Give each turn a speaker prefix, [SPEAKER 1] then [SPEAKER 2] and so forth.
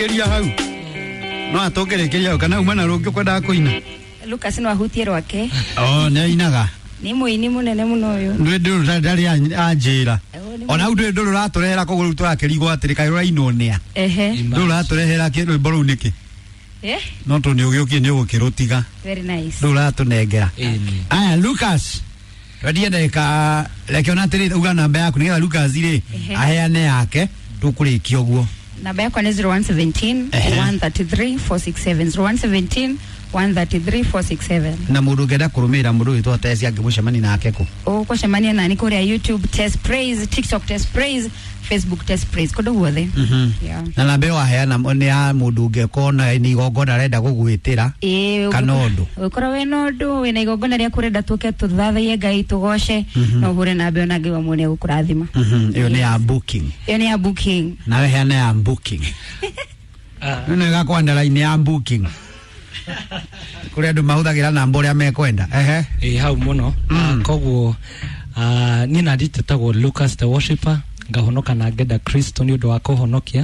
[SPEAKER 1] Kĩria hau no atũngĩrĩkĩria hau kana uma na rũngĩ ũkwendaga kũina.
[SPEAKER 2] Lucas no ahutie rwake.
[SPEAKER 1] O nĩ ainaga.
[SPEAKER 2] Nĩ mũini mũnene mũno ũyũ.
[SPEAKER 1] Ndũĩ ndũrũ ndarĩ anjĩra.
[SPEAKER 2] Oh, nĩ
[SPEAKER 1] Ona hau ndũĩ ndũrũ ũratũrehera koguo rĩu tũrakĩrigwo atĩrĩ kaĩ rũrainwo nĩa.
[SPEAKER 2] Ehe.
[SPEAKER 1] Ndũrũ ũratũrehera rwĩmbo rũu nĩkĩ?
[SPEAKER 2] Eh?
[SPEAKER 1] No tondũ nĩ ũgĩũkie nĩ ũgũkĩrũtiga.
[SPEAKER 2] Very nice.
[SPEAKER 1] Ndũrũ ũratũnengera.
[SPEAKER 3] Ĩni.
[SPEAKER 1] Aya Lucas. Twendie ndagĩka reke ona atĩrĩ uga namba yaku nĩgetha Lucas rĩ
[SPEAKER 2] Ehe.
[SPEAKER 1] aheane yake tũkũrĩkia ũguo.
[SPEAKER 2] Namba yakwa nĩ 0117
[SPEAKER 1] Ehe.
[SPEAKER 2] 133 467, 0117 133 467.
[SPEAKER 1] Na mũndũ ũngĩenda kũrũmĩrĩra mũndũ wĩtwo Tesi angĩmũcemania nake kũ?
[SPEAKER 2] Ũgũcemania nani kũrĩa YouTube Tess Praise, TikTok Tess Praise, Facebook Tess Praise, kũndũ guothe. Yeah.
[SPEAKER 1] Na namba ĩyo waheana nĩ ya mũndũ ũngĩkorwo na nĩ igongona arenda gũgwĩtĩra
[SPEAKER 2] Ĩĩ,
[SPEAKER 1] kana ũndũ.
[SPEAKER 2] Ũngĩkorwo wĩna ũndũ, wĩna igongona rĩaku ũrenda tũke tũthathaiye Ngai tũgoce, no ũhũre namba ĩyo na Ngai wa muoyo nĩegũkũrathima.
[SPEAKER 1] Ĩyo nĩ ya booking.
[SPEAKER 2] Ĩyo nĩ ya booking.
[SPEAKER 1] Nawe heana ya booking. Nĩ ĩgakwenda line ya booking. Kũrĩ andũ mahũthagĩra namba ũrĩa mekwenda. Ehe.
[SPEAKER 3] Ĩ hau mũno. Koguo niĩ na nditĩtagwo Lucas the Worshipper, ngahonoka na ngenda Kristo nĩ ũndũ wa kũhonokia.